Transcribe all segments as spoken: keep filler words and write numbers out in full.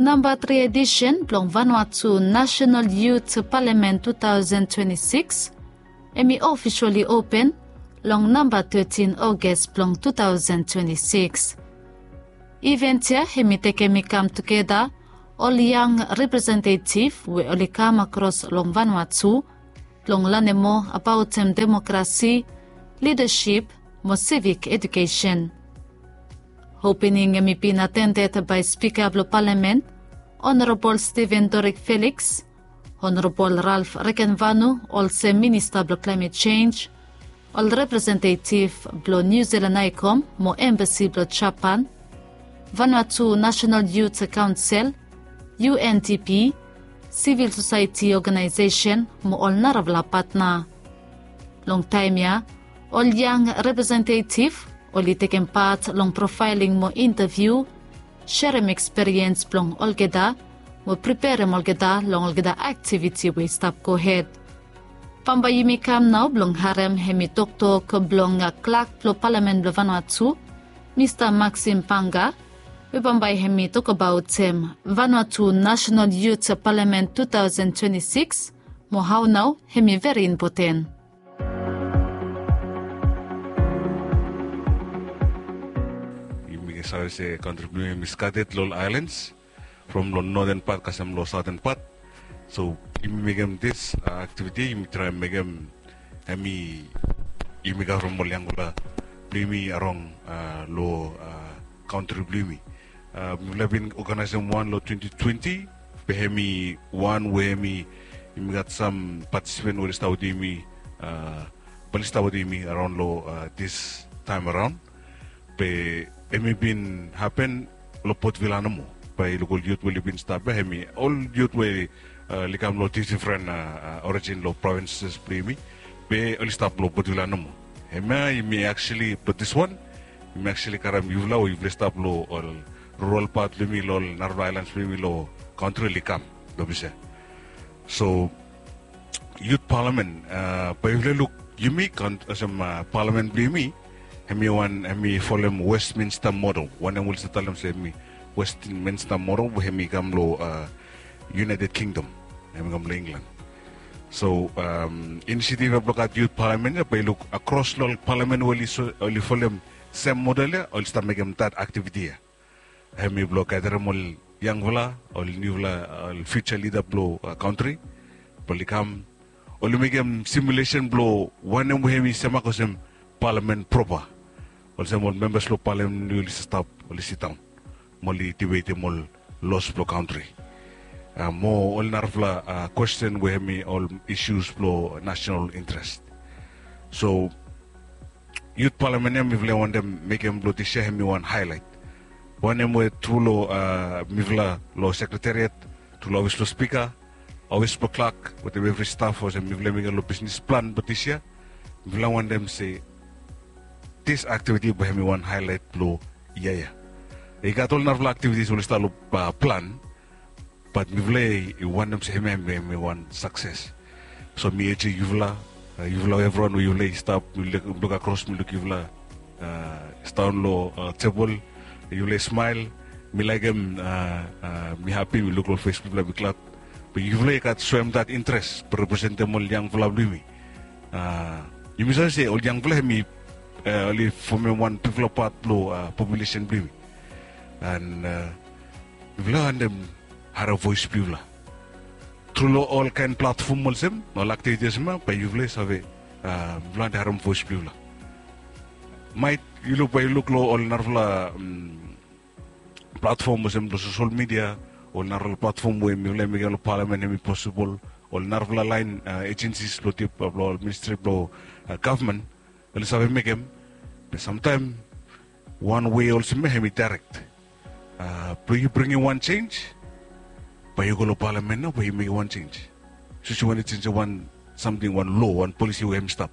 Namba tri edisen blong Vanuatu National Youth Parliament two thousand twenty-six hemi ofisali open long namba thirteen August blong two thousand twenty-six. Event ia hemi tekem i kam tugeta ol yang representative we oli kam akros long Vanuatu blong lanem moa abaotem demokrasi, lidasip mo sivik edukesen. Opening hemi bin atendet bae Spika blong Palamen, Honorabol Steven Dorik Felix, Honorabol Ralph Rekenvanu olsem Minista blong Klaemet Jenj, ol representativ blong Niu Silan Aekom mo Embasi blong Japan, Vanuatu National Youth Kaonsel, U N D P, sivil sosaeti oganaesesen mo ol narafala patna. Long taem ia, ol yang representativ oli tekem pat long profaeling mo intaviu, serem ekspiriens blong olgeta mo preperem olgeta long olgeta aktiviti we i stap gohed. Bambae yumi kam nao blong harem hemi toktok blong klak blong Palamen blong Vanuatu, Mista Maxim Panga, we bambae hemi tokbaotem Vanuatu National Youth Parliament two thousand twenty-six mo hao nao hemi veri impoten. Yumi save se kantri blong yumi hemi skated long ol aelans from long noten pat kasem long saoten pat. So yumi mekem dis aktiviti, yumi traem mekem hemi yumi gat from ol yangfala blong yumi arong long kantri blong yumi. Mifala bin oganaesem wan long twenty twenty, be hemi wan we hemi yumi gat sam patisipen we oli stap wetem yumi, bae oli stap wetem yumi araon long dis taem araon. Be hemi bin hapen long Port Vila nomo. Bae yu luk ol yut we oli bin stap ia, hemi ol yut we oli kam long difdifren orijin long provinses blong yumi, be oli stap long Port Vila nomo. Hemia yumi actually, be diswan yumi actually karem yufala we yufala i stap long ol rural pat blong yumi, long ol narafala aelans blong yumi long kantri, oli kam long ples ia. So Yut Palamen, bae yufala i luk yumi olsem palamen blong yumi, hemi wan, hemi folem Westminster model. Wanem oli save talem se hemi Westminster model we hemi kam long United Kingdom, hemi kam long England. So inisiativ ia blong gat Yut Palamen ia, bae yu luk akros long ol palamen we oli folem sem model ia, oli stap mekem dat aktiviti ia. Hemi blong gaderem ol yangfala, ol niufala, ol fiuja lida blong kantri blong oli kam, oli mekem simulesen blong wanem we hemi semak olsem palamen propa. Olsem ol membas blong palamen oli stap, oli sidaon mo oli dibetem ol los blong kantri mo ol narafala kwesten we hemi ol isius blong nasenal intres. So Yut Palamen ia mifala i wantem mekem blong dis yia hemi wan haelaet. Wanem we tru long mifala long sekretariat, tru long ofis blong spika, ofis blong klak wetem evri staf olsem mifala i mekem long bisnis plan blong dis yia, mifala i wantem se dis aktiviti bae hemi wan haelaet blong yia ia. I gat ol narafala aktivitis we oli stap long plan, bat mifala i wantem se hemia hemi wan sakses. So mi eje yufala, yufala evriwan we yufala i stap, mi luk akros, mi luk yufala sidaon long tebol, yufala i smael. Mi laekem, mi hapi, mi luk long fes blong yufala, mi glad. Be yufala i gat soem dat intres blong representem ol yangfala blong yumi. Yumi save se ol yangfala hemi, oli fomem wan bigfala pat blong populesen blong yumi. An mifala i wantem harem voes blong yufala tru long olkaen platfom olsem, ol aktiviti olsem ia, bae yufala i save, mifala i wantem harem voes blong yufala. Maet yu luk, bae yu luk long ol narafala platfom olsem long sosel midia, ol narafala platfom we mifala i mekem long palamen, hemi posibol, ol narafala laen ejensis blong tip, blong ol ministri blong gavman, oli save mekem. Be samtaem wan wei olsem ia hemi daerek blong yu bringim wan jenj, bae yu go long palamen nao, bae yu mekem wan jenj. Sapos yu wantem jenjem wan samting, wan loa, wan polisi we hemi stap.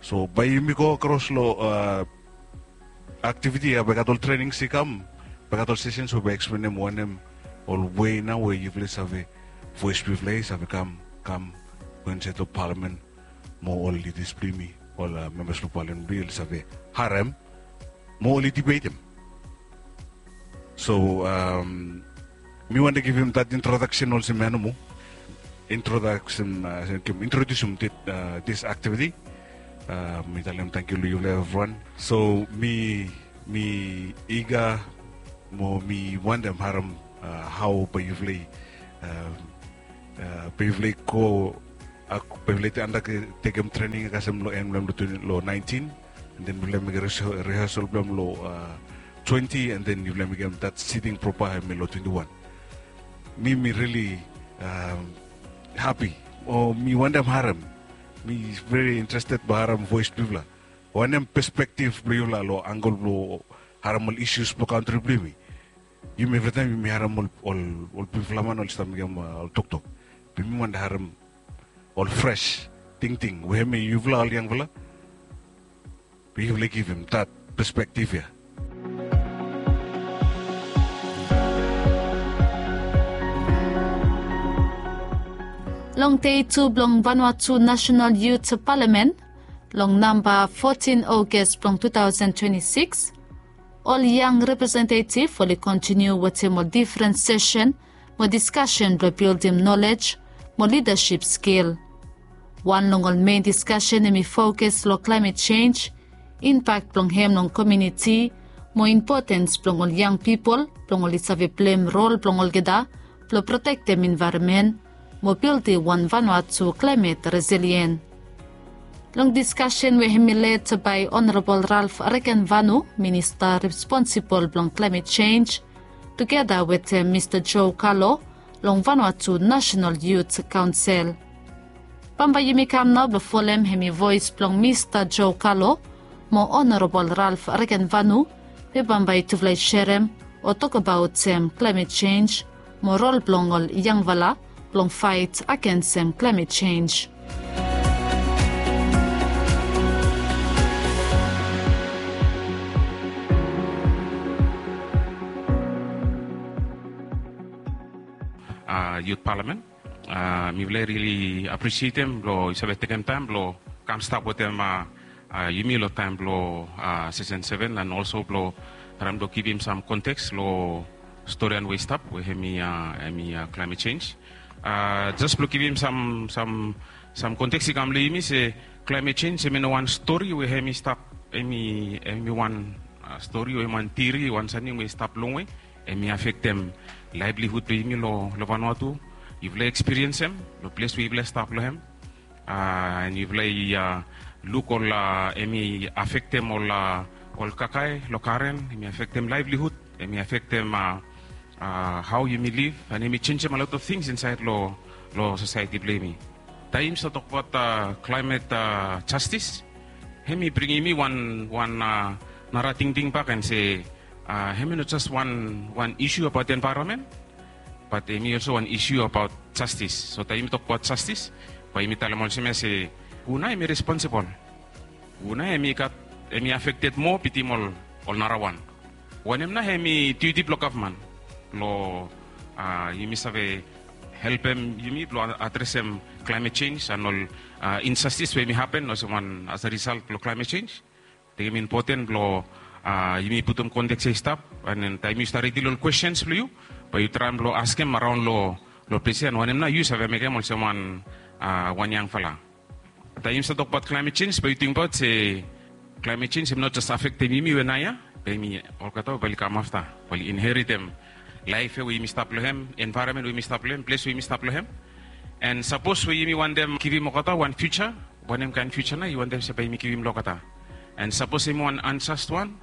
So bae yumi go akros long aktiviti ia, bae gat ol trenings i kam, bae gat ol sesens we bae eksplenem wanem ol wei nao we yufala i save, voes blong yufala i save kam, kam go insaed long palamen, mo ol lidas blong yumi, ol membas blong palamen blong yumi, oli save harem mo oli dibetem. So Mi wantem givim that introduction olsem ia nomo. Introduction, uh, introdusium this activity. Uh, mi talem tangkiu long yufala evriwan. So mi mi iga mo mi wantem harem, uh, hao bae yufala, uh, uh, bae yufala go, uh, bae yufala andatekem trening kasem long en blong long nineteen. And then yufala mekem rehearsal blong long, uh, twenty, and then yufala mekem that sitting proper hemi long twenty-one. Mi mi really, um, happy. O mi wantem harem. Mi very interested blong harem voes blong yufala. Wanem perspective blong yufala long angle blong harem ol issues blong kantri blong yumi. Yumi evritaem yumi harem ol, ol, ol bigfala man oli stap mekem, uh, ol toktok. Be mi wantem harem ol fresh tingting we hemi yufala ol yangfala. Be yufala givim that perspective ia. Long dei tu blong Vanuatu National Youth Parliament, long namba fotin August blong two thousand twenty-six, ol yang representative oli kontiniu wetem ol difren sesen mo diskasen blong bildim nolej mo lidasip skil. Wan long ol mein diskasen hemi fokus long klaemet jenj, impak blong hem long komuniti, mo impotens blong ol yang pipol blong oli save pleim rol blong olgeta blong protektem envaeronmen mo bildim wan Vanuatu klaemet resilien. Long diskasen we hemi led bae Honorabol Ralph Regenvanu, minista responsibol blong klaemet jenj, tugeta wetem Mista Joe Kalo long Vanuatu National Youth Council. Bambae yumi kam nao blong folem hemi voes blong Mista Joe Kalo mo Honorabol Ralph Regenvanu, we bambae tufala i serem o tokbaot hem klaemet jenj mo rol blong ol yangfala blong faet agensem klaemet jenj. A, Youth Parliament. A, mifala i rili apresietem blong yu save tekem taem blong kam stap wetem, a, a, yumi long taem blong, a, sesen seven, and also blong traem blong givim sam konteks long storian we i stap we hemi, a, hemi, a, klaemet jenj. A, jes blong givim sam, sam, sam konteks i kam long yumi se klaemet jenj hemi no wan stori we hemi stap, hemi, hemi wan, a, stori we hemi wan tiori, wan samting we i stap longwe. Hemi afektem laevlihud blong yumi long, long Vanuatu. Yufala ekspiriensem long ples we yufala stap long hem. A, and yufala i, a, luk ol, a, hemi afektem ol, a, ol kakae long garen, hemi afektem laevlihud, hemi afektem, a, a, hao yumi liv, and hemi jenjem a lot of things insaed long, long sosaeti blong yumi. Taem yumi stap tokbaot, a, klaemet, a, jastis, hemi bringim yumi wan, wan, a, nara tingting bak and se, a, hemi no jes wan, wan isu abaot envaeronmen, bat hemi olso wan isu abaot jastis. So taem yumi tokbaot jastis, bae yumi talem olsem ia se, hu nao hemi responsibol? Hu nao hemi gat, hemi afekted moa bitim ol, ol narawan? Wanem nao hemi diuti blong gavman blong, a, yumi save helpem yumi blong adresem klaemet jenj and ol, a, injastis we hemi hapen olsem wan as a result blong klaemet jenj? Tekem impoten blong, a, yumi putum konteks ia i stap, and then taem yu stap ridim ol kwestens blong yu, bae yu traem blong askem araon long, long ples ia, and wanem nao yu save mekem olsem wan, a, wan yangfala. Taem yumi stap tokbaot klaemet jenj, bae yu tingbaot se klaemet jenj hemi no jes afektem yumi we naoia, be hemi olgeta we bae oli kam afta, bae oli inheritem laef ia we yumi stap long hem, envaeronmen we yumi stap long hem, ples we yumi stap long hem. And sapos we yumi wantem givim olgeta wan fiuja, wanem kaen fiuja nao yu wantem se bae yumi givim long olgeta? And sapos hemi wan anjas wan,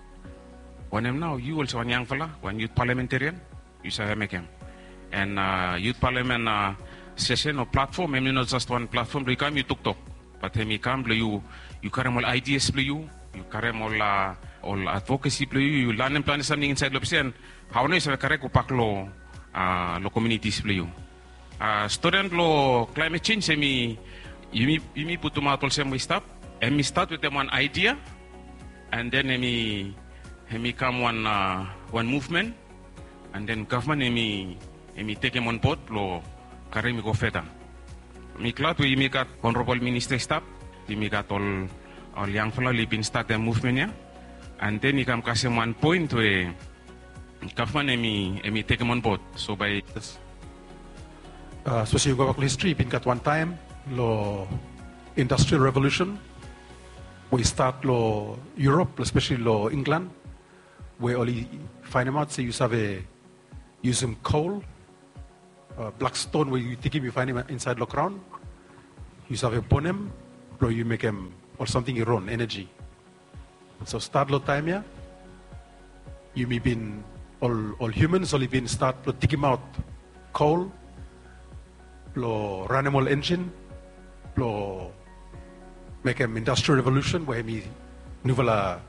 wanem nao yu olsem wan yangfala, wan yut palamentarian, yu save mekem? And, a, yut palamen, a, sesen o platfom, hemi no jes wan platfom blong yu kam yu toktok, bat hemi kam blong yu, yu karem ol aedias blong yu, yu karem ol, a, ol advokesi blong yu, yu lanem plante samting insaed long ples ia, and hao nao yu save karem gobak long, a, long komunitis blong yu. A, storian blong klaemet jenj hemi, yumi, yumi putumaot olsem we i stap. Hemi stat wetem wan aedia, and then hemi, hemi kam wan, a, wan muvmen, and then gavman hemi, hemi tekem onbod blong karem i go feda. Mi glad we yumi gat Honorabol Minista i stap, yumi gat ol, ol yangfala oli bin statem muvmen ia, and then i kam kasem wan poen we Gavman em i tekem on bod. So bai, sapos yu go bak long histri, i bin gat wan taem long Industrial Revolution we i stat long Europe, especially long England, we oli faenemaot se yu save yusum kol, blak ston we yu tikim yu faenem insaed long graon, yu save bonem blong yu mekem ol samting i ron, eneji. So stat long taem ya, yumi bin, ol, ol humans oli bin stat blong tikimaot kol blong ranem ol enjin blong mekem Industrial Revolution, we hemi nufala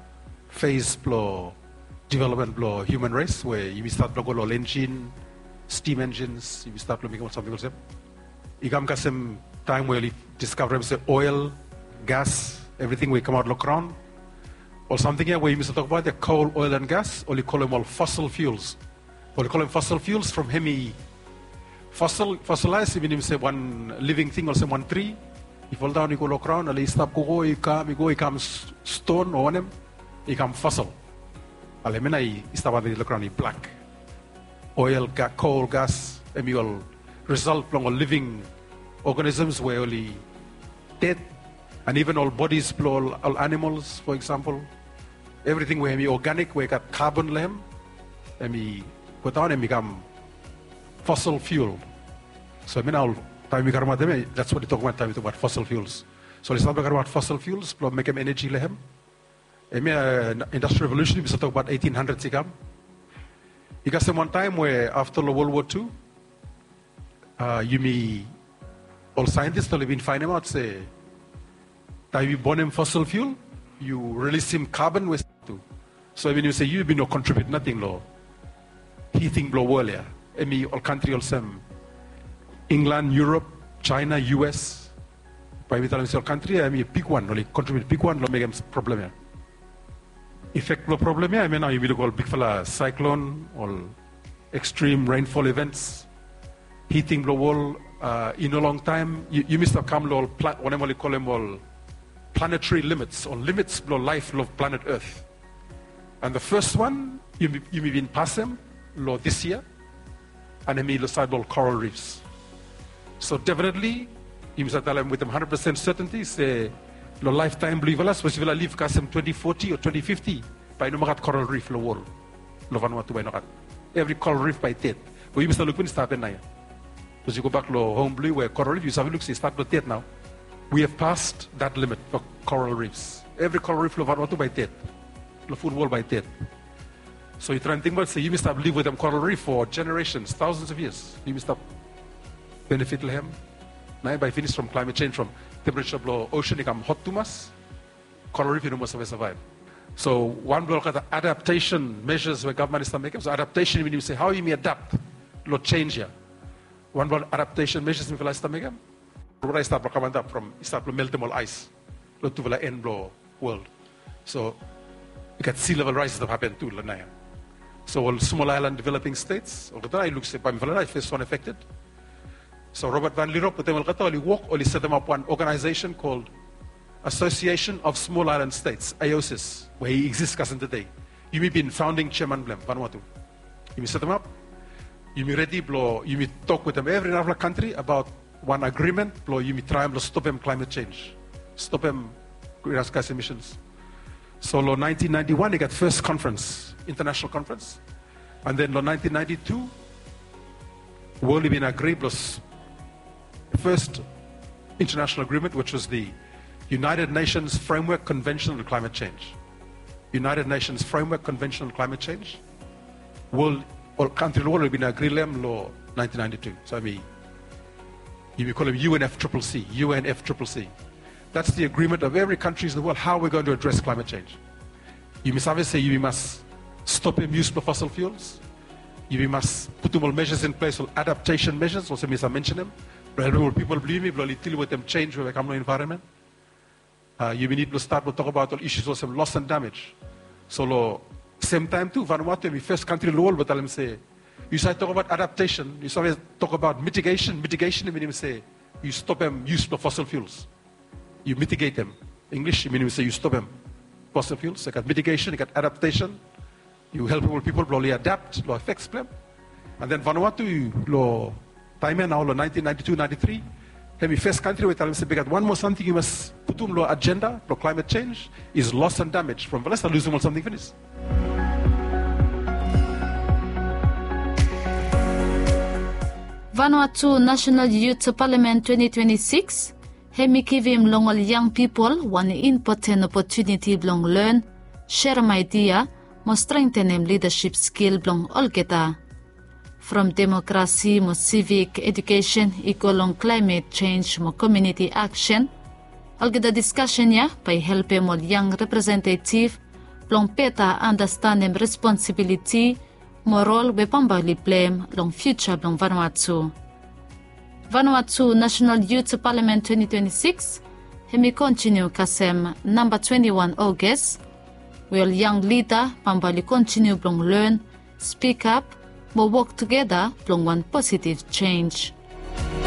phase blong development blong human race, we yumi stat blong go long ol enjin, steam engines, yumi stat blong mekem ol samting olsem. I kam kasem taem we oli diskavarem se oil, gas, evriting we i kamaot long graon, ol samting ya we yumi save tokbaot ya, kol, oil and gas, oli kolem ol fossil fuels. Oli kolem fossil fuels from hemi fossil, fossilize i minim se wan living thing olsem wan tri i foldaon i go long graon, ale i stap gogo, i kam, i go, i kam ston o wanem, i kam fossil. Ale hemia nao i stap antap long graon, i blak. Oil, kol, gas, hemi ol result blong ol living organisms we oli ded, and even ol bodies blong ol, ol animals, for example, evriting we hemi organic we i gat carbon long hem, hemi godaon, hemi kam fossil fuel. So hemia nao taem yumi karemaot hemia, that's what i tokbaot taem yumi tokbaot fossil fuels. So oli stat blong karemaot fossil fuels blong mekem eneji long hem. Hemia, Industrial Revolution yumi save tokbaot eighteen hundreds i kam. I kasem wan taem we afta long World War Two, yumi, ol saentis oli bin faenemaot se taem yu bonem fossil fuel, yu rilisim carbon we tu. So i minim se yu bin no kontribiut nating long hiting blong wol ya. Hemi ol kantri olsem England, Europe, China, U S. Bae mi talem se ol kantri ya hemi bigwan, oli kontribiut bigwan long mekem problem ya. Efek blong problem ya hemia nao yumi luk ol bigfala saeklon, ol extreme rainfall events, hiting blong wol, i no longtaem yumi stap kam long ol, wanem oli kolem ol planetary limits o limits blong laef long planet Earth. And the first one yumi bin pasem long this year, and hemi long saed blong ol coral reefs. So definitely yumi save talem wetem hundred percent certainty se long laeftaem blong yufala, sapos yufala liv kasem twenty forty o twenty fifty, bae i no moa gat coral reef long wol. Long Vanuatu bae i no gat. Evri coral reef bae i ded. Be yumi save luk wanem i stap hapen naoia. Sapos yu gobak long hom blong yu we coral reef, yu save luk se i stat blong ded nao. We have passed that limit for coral reefs. Evri coral reef long Vanuatu bae i ded. Long full wol bae i ded. So yu traem tingbaot se yumi stap liv wetem coral reef for generations, thousands of years. Yumi stap benefit long hem. Naoia bae i finis from climate change, from temperature blong ocean i kam hot tumas, coral reef i no moa save survive. So wan blong olgeta adaptation measures we gavman i stap mekem. So adaptation i minim se hao yumi adapt long change ya. Wan blong adaptation measures mifala i stap mekem, wota i stap blong kam antap from, i stap blong meltem ol aes long tufala en blong wol. So i gat sea level rise i stap hapen tu long naoia. So ol small island developing states, olgeta i luk se bae mifala nao i fes wan affected. So Robert Van Lierop wetem olgeta oli wok, oli setemap wan organization called Association of Small Island States, AOSIS, we i exist kasem tede. Yumi bin founding chairman blong hem, Vanuatu. Yumi setemap, yumi redi blong yumi tok wetem evri narafala kantri abaot wan agreement blong yumi traem blong stopem climate change, stopem greenhouse gas emissions. So long nineteen ninety-one i gat first conference, international conference. And then long nineteen ninety-two, wol i bin agri blong first international agreement, which was the United Nations Framework Convention on Climate Change. United Nations Framework Convention on Climate Change. Wol, ol kantri long wol oli bin agri long hem long nineteen ninety-two. So hemi, yumi kolem U N F triple C, U N F triple C. That's the agreement of every countries in the world, how we're going to address climate change. Yumi save se yumi mas stopem yus blong fossil fuels. Yumi mas putum ol measures in place, ol adaptation measures olsem mi save mensenem, blong helpem ol pipol blong yumi blong oli deal wetem change we bae i kam long environment. Yumi nid blong stat blong tokbaot ol issues olsem loss and damage. So long semtaem tu Vanuatu hemi fes kantri long wol we talem se yu save tokbaot adaptation, yu save tokbaot mitigation. Mitigation i minim se yu stopem yus blong fossil fuels. Yu mitigetem. English i minim se yu stopem fossil fuels. I gat mitigation, i gat adaptation. Yu helpim ol pipol blong oli adapt long efeks blong em. And then Vanuatu, long taem ya nao long nineteen ninety-two ninety-three, hem i fes kantri we i talem se i gat wan moa samting yu mas putum long ajenda blong climate change is loss and damage from Vanessa lusim ol samting finis. Vanuatu National Youth Parliament twenty twenty-six hem i givim long ol yang pipol wan impoten opotuniti blong len, serem aedia mo strengtenem lidasip skil blong olgeta. From demokrasi mo sivik edukesen i go long klaemet jenj mo komuniti aksen, olgeta diskasen ya bae i helpem ol yang representetiv blong beta anastenem responsibiliti mo rol we bambae oli pleim long fiuja blong Vanuatu. Vanuatu National Youth Parliament twenty twenty-six hem i kontiniu kasem namba twenty-one August, we ol yang lida bambae oli kontiniu blong len, spikap mo wok tugeta blong wan positiv jenj.